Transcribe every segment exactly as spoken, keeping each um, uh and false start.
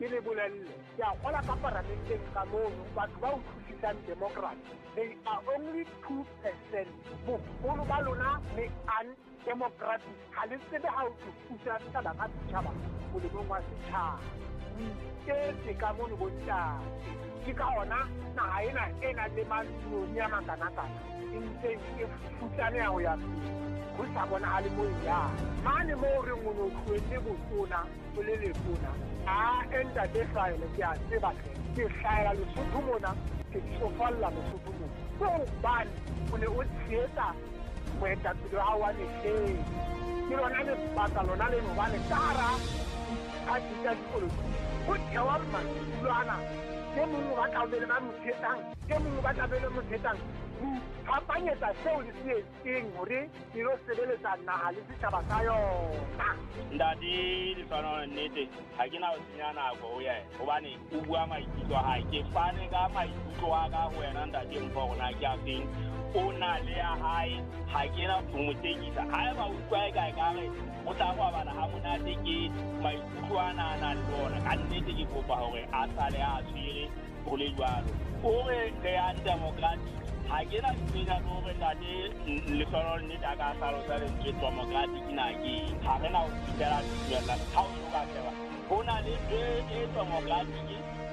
Ke le bolelle, ke a kgola ka paramenteng ka mono batho ba utlwisisang democracy, they are only two percent. Boholo ba lona le undemocratic, ha le tsebe ha o pusa setjhaba ka setjhaba molemong wa setjhaba. O iketse ka mono bontate. Ke ka hona naha ena e nang le mantsione a makanakana e ntseng e futsaneha ho ya pele, ho sa bonahale mo e yang. Mane moo re o no tlohelle botona o le letona, a ntate Hlwaele ke a tseba hle, ke hlahela Lesotho mona, ke tsofalla Lesotho mona. Ke hobane o ne o tshehetsa moetapele wa hao wa mehleng. Ke lona lebaka lona leno hobane ka hara diphathi tsa dipolotiki ho thewa maikutlo ana. E mong o batla ho be le ba mo tshehetsang, e mong o batla be le mo tshehetsang. Ho iphapanyetsa seo le se etseng hore le lo sebeletsa naha le setjhaba sa yona. Ntate Lehlohonolo, nnete ha ke na ho senya nako ho yena hobane o bua maikutlo a hae. Ke fane ka maikutlo a ka ho wena ntate Mpho hore na ke a feng. O na le ya hae, ha ke na ho mo tekisa. Haeba o utlwa eka ekare o tla robala ha monate ke maikutlo ana a nang le ona, ka nnete ke kopa hore a sale a tshwere ho le jwalo. O re re undemocratic, ha ke na ntho le hore ntate Lehlohonolo nnete a ka hlalosa lentswe democratic na ke eng. Ha re na ho fihlela tumellano. Ha o so ka sheba, ho na le ntho e democratic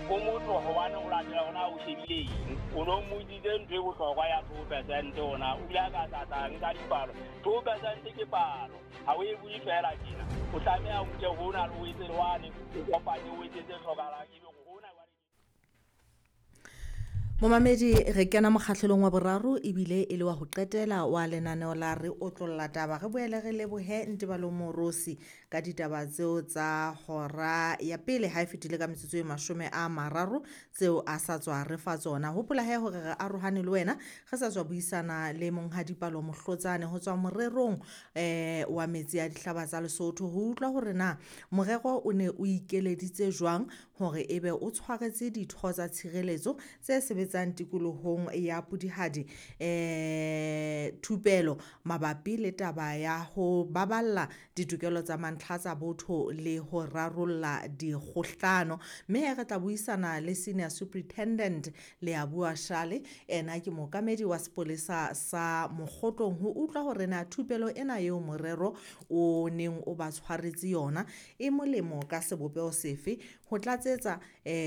ho motho hobane o latela hore na o shebile eng. O no mmotsitse ntho e bohlokwa ya two percent hona, o ile a ka tlatla nka dipalo. Two percent ke palo, ha o e bue feela tjena. O tlameha o nke hona le o etse le wane, o kopanye o etse tse hlokahalang ebe hona jwale. Momamedi, re kena mokgahlelong wa boraro ebile e le wa ho qetela wa lenaneo la Re Otlolla Taba. Re boele re lebohe Ntebalo Morosi ka ditaba tseo tsa hora ya pele ha e fetile ka metsotso e mashome a mararo tseo a sa tswa re fa tsona. Hopola he hore re arohane le wena, re sa tswa buisana le Monghadi Palo Mohlotsane ho tswa morerong eh wa metsi a dihlaba tsa Lesotho, ho utlwa hore na morero o ne o ikeleditse jwang hore ebe o tshwaretse ditho tsa tshireletso tse sebetsang tikolohong ya Pudihadi eh thupelo mabapi le taba ya ho baballa ditokelo tsa mantlha tsa botho le ho rarolla dikgohlano. Mme re tla buisana le Senior Superintendent Leabua Shale, ena ke mookamedi wa sepolesa sa Mokgotlong, ho utlwa hore na thupelo ena eo morero o neng o ba tshwaretse yona e molemo ka sebopeho sefe ho tlatsetsa eh